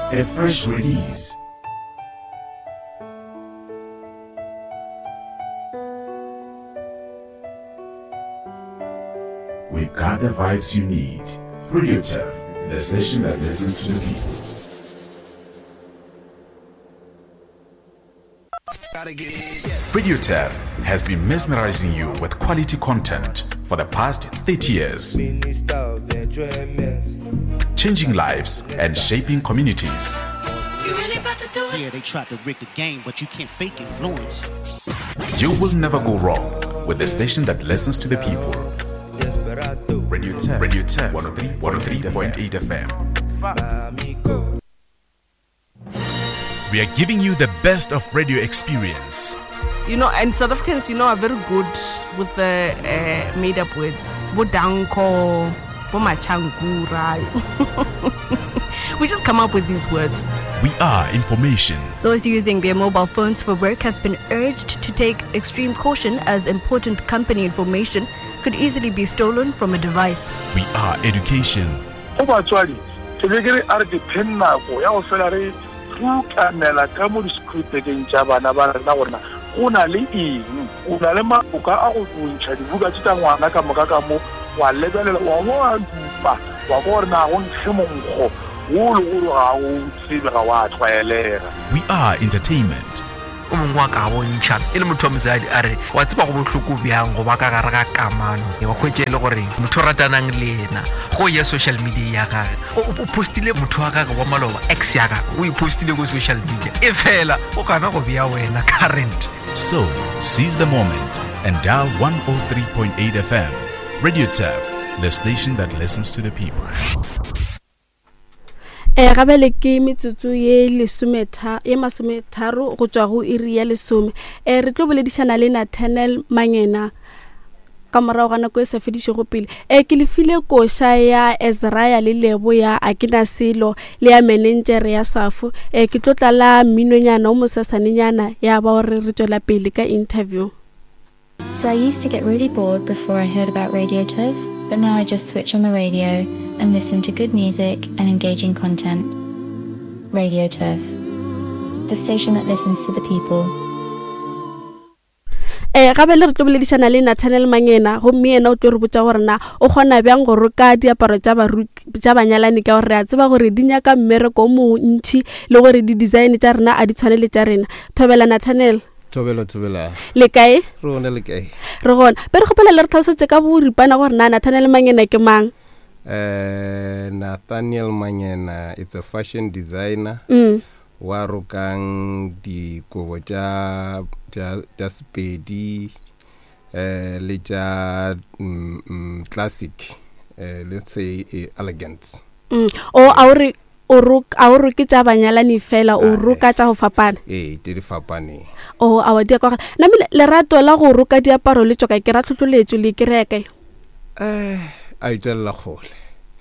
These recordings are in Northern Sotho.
A fresh release. We've got the vibes you need. Radio Turf, the station that listens to the people. Radio Turf has been mesmerizing you with quality content for the past 30 years. Changing lives and shaping communities. Yeah, they tried to rig the game, but you can't fake influence. You will never go wrong with the station that listens to the people. Radio 10, Radio 10, 103.8 FM. We are giving you the best of radio experience. You know, and South Africans, you know, are very good with the uh, made up words. Bodanko, Bomachangura. we just come up with these words. We are information. Those using their mobile phones for work have been urged to take extreme caution as important company information could easily be stolen from a device. We are education. Go batswadi, ke be ke re a re dipheng nako ya go fela re rukanela ka mo di-schoolbageng tša bana ba rena gore na go na le eng. O na le maboka a go ntšha dibuka tše tša ngwana ka moka ka mo, wa lebelela, wa bo wa dupa, wa kwa gore na go nkge monkgo wo le gore ga o tsebe, ga wa tlwaelega. We are entertainment. O mongwe wa ka bontšha e le motho wa mosadi a re wa tseba go bohloko bjang go ba ka gare ga kamano wa hwetše e le gore motho o ratanang le yena go ya social media ya gage o postile motho wa gage wa maloba ex ya gage o e postile ko social media e fela o gana go bea wena current. So, seize the moment and dial 103.8 FM. Radio Turf, the station that listens to the people. E gabele ke metsotso ye lesometha ye masometharo go tšwa go iri ya lesome. E re tlo boledišana le Nathaniel Mangena ka morago ga nako e sa fedišego pele. E ke le file koša ya Ezraya le Lebo ya A ke na selo le ya menentšere ya Swafo. E ke tlo tlala mminonyana o mosesanenyana ya ba gore re tšwela pele ka interview. So I used to get really bored before I heard about Radio Turf, but now I just switch on the radio and listen to good music and engaging content. Radio Turf, the station that listens to the people. Eh, gape le re tlo boledišana le Nathaniel Mangena gomme yena o tlo re botša gore na o kgona bjang go roka diaparo tša tša banyalani ka gore re a tseba gore di nyaka mmereko o montši le gore di-design tša rena a di tshwane le tša rena. Thobela Nathaniel. Thobela thobela. Le kae? Re gona le kae? Re gona. Be re kgopela le re tlhalosetše ka boripana gore na Nathaniel Mangena ke mang. Uh, Nathaniel Mangena it's a fashion designer. Mm. Wa rokang dikobo tša tša tša Sepedi eh le tša mm, mm, classic eh, let's say eh, elegant. Mm. O a o re O rok, a o roke tša banyalani fela, o roka tša go fapana? Ee, tše di fapaneng. O, aowa, di a kwagala. Namile, lerato la go roka diaparo le tšwa kae? Ke ra tlhohloletšo, le e kry-a kae? Eh, a e tšwelela kgole.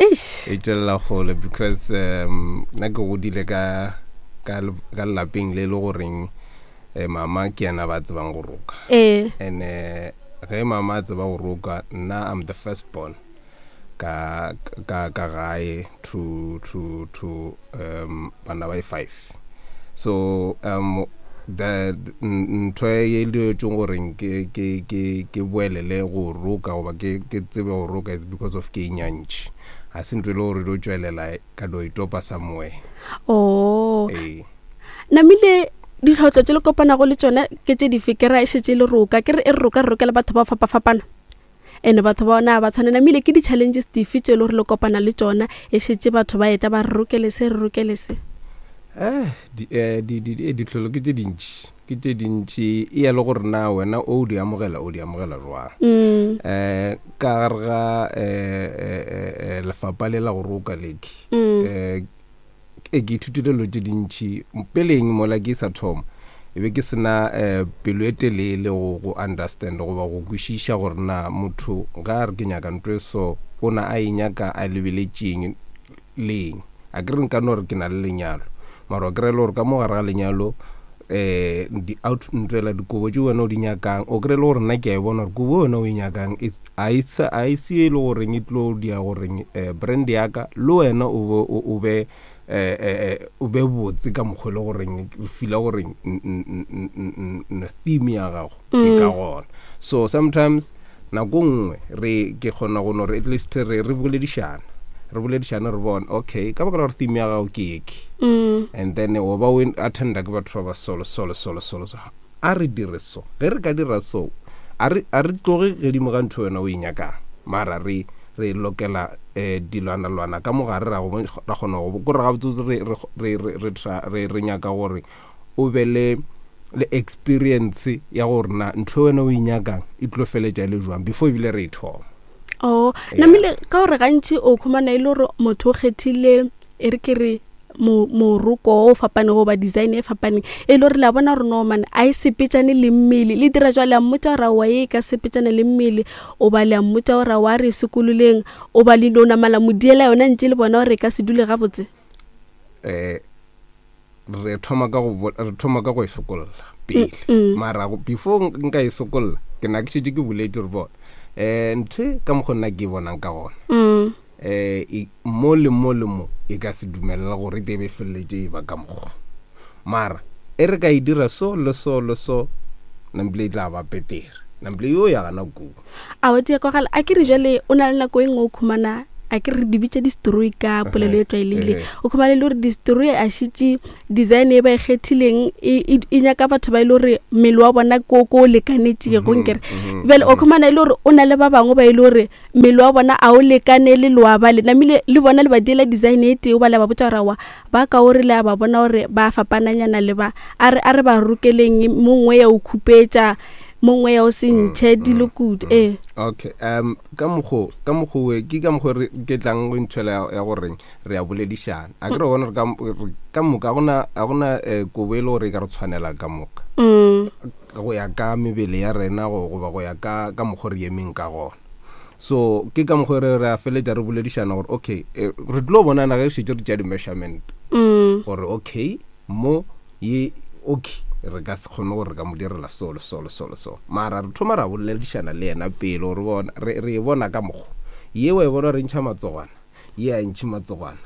Eish. E tšwelela kgole because um, nna ke godile ka, ka, ka lelapeng le le goreng eh, mama ke yena ba tsebang go roka. Ee. And eh, ge mama a tseba go roka, nna I'm the first born. ka ka ka gae to to to um bana ba 5 so um the ntho e diretšeng gore ke ke ke ke boelele go roka goba ke ke tsebe go roka is because of ke e nyantši ga se ntho e le gore do tšwelela ka do itopa somewhere. Oh. Ee. Namile ditlhotlo tše le kopanago le tšona ke tše dife? Ke ra e šetše le roka, ke re e re roka re rokela batho ba fapafapana. And batho ba ona ba tshwane. Namile ke di-challenges dife tše e le gore le kopana le tšona e šetše batho ba eta ba re rokele se, re rokele se? Eh, di, eh, di, di, di, ditlholo ke tše dintši, ke tše dintši. E ya le gore na wena o di amogela, o di amogela jwang. Mm. Eh, ka gare ga, eh, eh, eh, eh, lefapha le la go roka leke, Mm. eh, e ke ithutile dilo tše dintši peleng mola ke sa thoma e be ke sena um pelo e telele go go understand goba go kwešiša gore na motho ga a re ke nyaka ntho e so o na a e nyaka a lebeletšeng leng a ke re nka no re ke na le lenyalo mara wa kry-e le gore ka mo gare ga lenyalo um di out ntwela dikobo tše wena o di nyakang o kry-e le gore nna ke a e bona gore kobo wena o e nyakang a e se e le goreng e tlo dia goreng um brand ya ka le wena o be Eh, eh, eh, o be botse ka mokgwa e le goreng o fila gore theme ya gago e ka gona. So sometimes nako nngwe re ke kgona go no re at least re re boledišana, re boledišane re bone, okay, ka baka la gore theme ya gago ke eke, and then o ba o attenda ke batho ba ba solo solo solo solo so, a re dire so. Ge re ka dira so, a re a re tloge gedimo ga ntho wena o e nyakang, mara re re lokela um dilwanalwana ka mo gare, ra go ra kgona go kore gabotsebotse re re re re re tra re re nyaka gore o be le le experience ya gore na ntho wena o e nyakang e tlo feletša e le jwang before ebile re e thoma. Oh, namile ka gore gantši o khumana e le gore motho o kgethile, e re ke re moroko o fapanego goba design e fapaneng, e le gore le a bona gore no man a e sepetšane le mmele. Le dira jwa le a mmotša gore aowa ye e ka sepetšana le mmele, o ba le a mmotša gore aowa re e sokololeng, o ba le no namala modiela yona ntše le bona gore e ka se dule gabotse. Um re thoma ka go re thoma ka go e sokolla pele, mara before nka e sokolla ke na ke šetše ke boletše gore bona um ntho ka mokgwa nna ke e bonang ka gona, um mo le mo le mo e ka se dumelela gore e tebe e feleletše e ba ka mokgwa, mara e re ka e dira so le so le so, nampile e tla ba petere, nampile yo ya gana kua. A wa tia kwagala a ke re jale o na le nako e nngwe o khumana, a ke re di bitša di-story ka polelo e tlwaelegileng, o khumana e le gore di-story a šitše design e ba e kgethileng e nyaka batho ba e le gore mmele wa bona ko ko o lekanetšego, nkere bjale o khumana e le gore o na le ba bangwe ba e le gore mmele wa bona a o lekane le loa ba le namile le bona le ba diela design e tee, o ba le ba botša gore aowa ba ka o re le a ba bona gore ba fapananyana le ba, a re a re ba rokeleng mongwe ya o khupetša mongwe ya o se ntšhe dilo kudu. Ee. Okay, um ka mokgo ka mokgo we ke ka mokgo re ke tlang go nthwela ya goreng re a boledišana, a ke re bona re ka ka moka gona a gona kobo e le gore e ka re tshwanela ka moka go ya ka mebele ya rena goba go ya ka ka mokgo re emeng ka gona. So ke ka mokgo re re a feletša re boledišana gore okay, re tlo bonana ge šetše re tšea di-measurement gore okay mo ye okay re ka se kgone gore re ka mo direla so le so le so le so, mara re thoma ra boledišana le yena pele gore bona re re e bona ka mokgo ye wa e bona re ntšha matsogwana, ye a ntšhe matsogwana,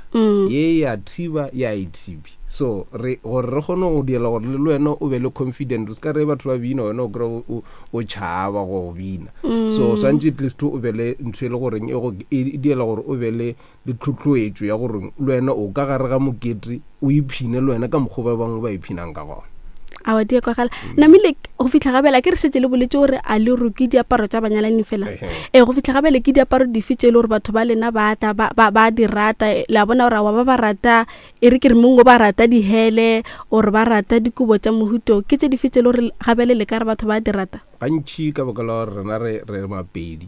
ye ya thiba ya e thibi. So re gore re kgone go diela gore le wena o be le confident, o se ka re batho ba bina wena o kry o tšhaba go bina. So swantše at least o be le ntho e le goreng e go e diela gore o be le le tlhotlhoetšo ya gore le wena o ka gare ga mokete o iphine le wena ka mokgwa ba bangwe ba iphinang ka gona. A wa dia kwagala namile go fitlha gabela ke re šetše le boletse gore a le roke diaparo tša banyalani fela. Ee, go fitlha gabele ke diaparo dife tše e le gore batho ba lena ba tla ba di rata, le a bona gore awa ba ba rata, e re ke re mongwe ba rata dihele or ba rata dikobo tša mohuto, ke tše dife tše e le gore gabele le ka re batho ba di rata? Gantši ka baka la gore rena re re Mapedi,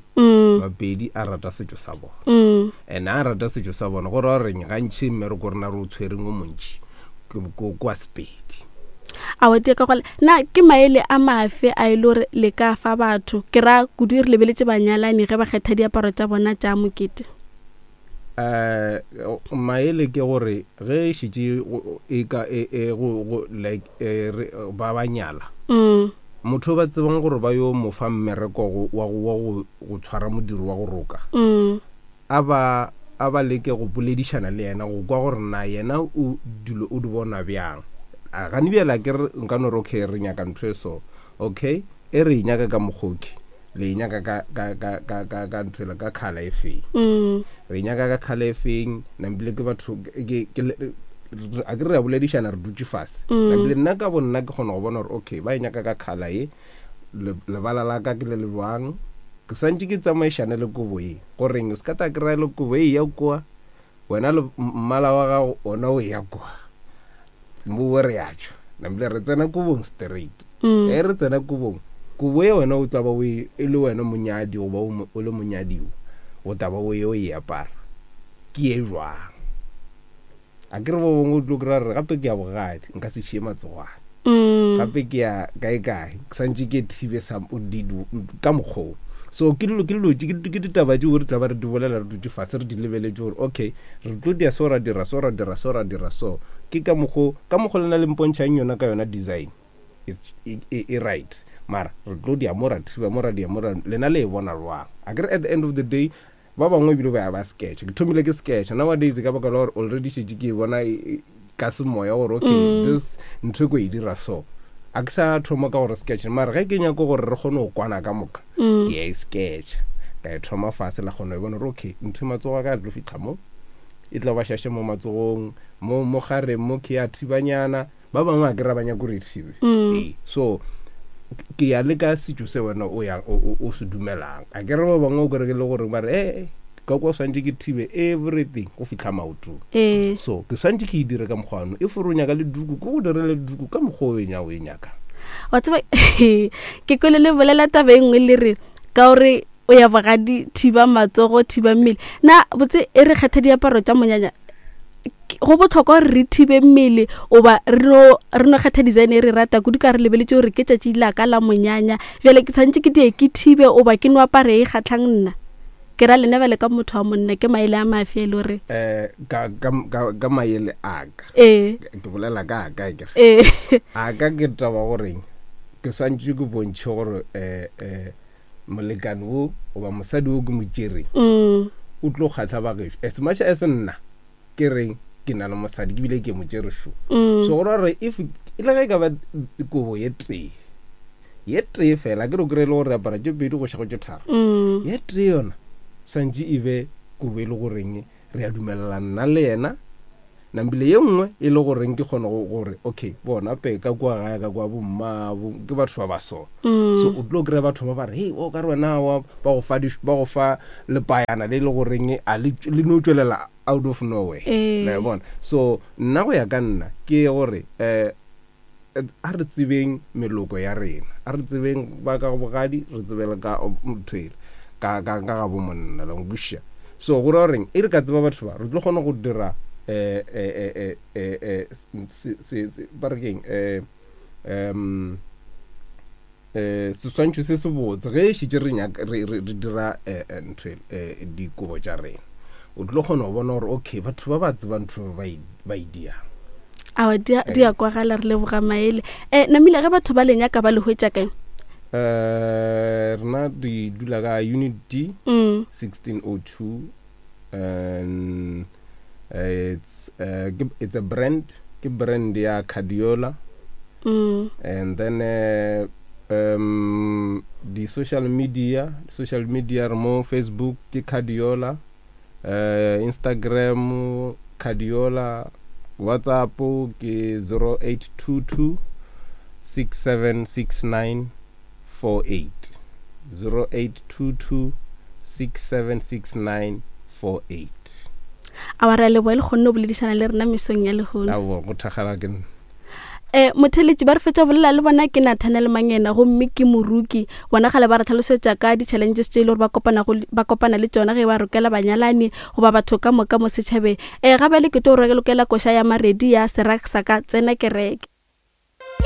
Mapedi a rata setšo sa bona, and a rata setšo sa bona go ra goreng gantši mmereko rena re o tshwereng o montši ke wa Sepedi. A wa tia ka gole na ke maele a mafe a e le gore le ka fa batho, ke ra kudu re lebeletše banyalani ge ba kgetha diaparo tša bona tša mokete? Um maele ke gore ge e šetše e ka e e go go like re ba ba nyala, motho o ba tsebang gore ba yo mo fa mmereko wa go wa go go tshwara modiro wa go roka, a ba a ba leke go boledišana le yena go kwa gore na yena o dilo o di bona bjang. A gane bjale a ke re nka no re okay re nyaka ntho e so, okay e re e nyaka ka mokgoki, le e nyaka ka ka ka ka ka ka ntho ela ka colour e feng, re e nyaka ka colour e feng, nampile ke batho ke ke a ke re a boledišana re dutše fase, nampile nna ka bo nna ke kgona go bona gore okay ba e nyaka ka colour ye, lebala la ka ke le le jwang, ke swantše ke tsamaišane le kobo ye, goreng o se ka ta kry-a le kobo e ya kua wena le mmala wa gago ona o ya kua mo re ya tšwa, nampile re tsena kobong straight. Ge re tsena kobong, kobo ye wena o tla ba o e le wena monyadi goba o le monyadiwa, o tla ba o ye o e apara ke ye jwang? A ke re ba bangwe o tlo kry-a re gape ke ya bogadi nka se šie matsogwana, gape ke ya kae kae ke swantše ke thibe sa ka mokgwa o. So ke dilo ke dilo ke ditaba tšeo re tla ba re di bolela re dutše fase re di lebeletše gore okay re tlo dia so ra dira so ra dira so ra dira so, ke ka mokgo ka mokgo lena le mpontšhang yona ka yona design e, e, e, e right, mara re tlo dia mo ra thiba mo ra dia mo ra, lena le e bona jwang? A ke re at the end of the day. Ba bangwe ebile ba ya ba sketcha. Ke thomile ke sketcha. Nowadays ka baka la gore already šetše ke e bona e, e, ka semoya gore okay mm. this ntho e ko e dira so. A ke sa thoma ka gore sketch mara ge ke nyako gore re kgone go kwana ka moka mm. ke ya e sketcha. Ka e thoma fase la kgona e bona gore okay ntho e matsogo a ka a tlo fitlha mo e tla ba šaše mo matsogong mo mo gareng mo ke ya thibanyana ba bangwe a ke ra ba nyaka gore e thibe mm. ee so ke ya le ka setšo se wena o ya o se dumelang a ke re ba bangwe o kere ke le gore ba re ee ka kwa swantse ke thibe everything go fitlha maotong ee. so ke swantse ke e dire ka mokgwa ano e fore o nyaka le duku ke go direle duku ka mokgwa o enya o e nyakang wa tseba ke kwele le bolela taba e nngwe le re ka gore o ya bogadi thiba matsogo thiba mmele na botse e re kgetha diaparo tša monyanya go botlhokwa gore re thibe mmele oba re no re no kgetha design e re rata kudu ka re lebeletse gore ke tšatši la ka la monyanya bjale ke tshwanetse ke die ke thibe oba ke no apare e kgatlhang nna ke ra lena bjale ka motho wa monna ke maele a mafe e le gore um ka, ka, ka, ka maele a ka ee ke bolela ka ka ke ee a ka ke taba goreng ke swantše ke bontšhe gore um um molekane wo goba mosadi wo ke mo tšereng mm. o tlo kgatlha bagešo as much as nna ke reng ke na le mosadi ke bile ke mo tšere šo mm. so go ra gore if e le ge e ka ba kobo ye tee ye tee fela ke re kry e le gore apara tše pedi go šego tše tharo mm. ye tee yona swantše e be kobo e le goreng re a dumelelana nna le yena Nambile ye nngwe e le goreng ke kgone go gore okay bona pe ka kua gae ka kua bomma ke batho ba ba so mm. so o tlo kry-a batho ba ba re hei o ka re wena wa ba go fa ba go fa lepayana le le goreng a le le no tšwelela out of nowhere eh. la bona so nna go ya ka nna ke gore eh a re tsebeng meloko ya rena a re tsebeng ba ka bogadi re tsebele ka mthwele ka ka ka ga bo monna la nkwiša so go ra goreng e re ka tseba batho ba re tlo kgona go dira eh eh eh eh eh se se ba re keng eh um eh seswantšho se se botse ge e šetše re nyaka re re dira eh, eh, ntho eh, dikobo tša rena o tlo kgona go bona gore okay batho ba ba tseba ntho ba e, ba e diang awa di a kwagala re leboga maele um namile ge batho ba le nyaka ba le hwetša kae um rena di dula ka unit d mm. 1602 and it's, uh, it's a brand ke brand ya cardiola mm. and then uh, um di social media social media re mo facebook ke cardiola uh, instagram cardiola whatsapp ke 0822 6769 48 0822 6769 48 A ra leboa le kgonne go boledišana le rena mesong ya lehono. Aowa, go thakgala ke nna. Um motheletši ba re fetša bolela le bona ke Nathanael Mangena gomme ke moruki. Bona gale ba re tlhalosetša ka di-challenges tše e le gore ba kopana, ba kopana le tšona ge ba rokela banyalani goba batho ka moka mo setšhabeng. Um ga bjale ke tlo rokela koša ya Maredi ya Serak sa ka tsena kereke.